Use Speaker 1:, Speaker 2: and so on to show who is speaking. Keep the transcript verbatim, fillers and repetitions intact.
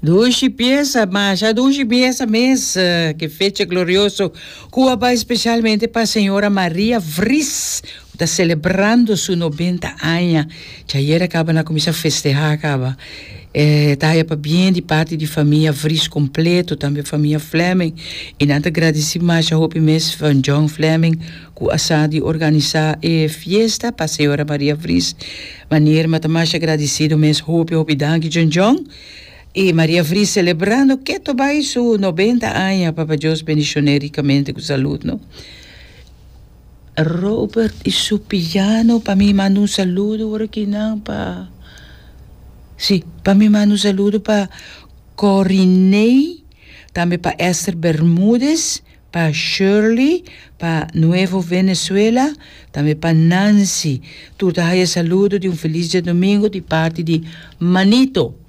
Speaker 1: Dushi piesa, masha dushi piesa mes, ke fecha glorioso ku a bai spesialmente pa señora Maria Vries, ku ta selebrando su nobenta aña. Djayera kaba nan a kuminsá festehá kaba. E ta haya pabien di parti di famia Vries kompleto, tambe famia Fleming, i nan ta gradisí masha hopi mes van John Fleming ku a sa di organisá e fiesta pa señora Maria Vries. Manera mi ta masha gradisido mes, hopi hopi danki, John John. I Maria Vries selebrando keto bai su nobenta aña. Papa Dios bendishon'é rikamente ku salud, no? Robert i su piano, pa mi manda un saludo ora kinan pa, sí, pa mi manda un saludo pa Coriney, tambe pa Esther Bermudez, pa Shirley, pa Nuevo Venezuela, tambe pa Nancy. Tur ta haya saludo di un felis djadumingu di parti di Manito.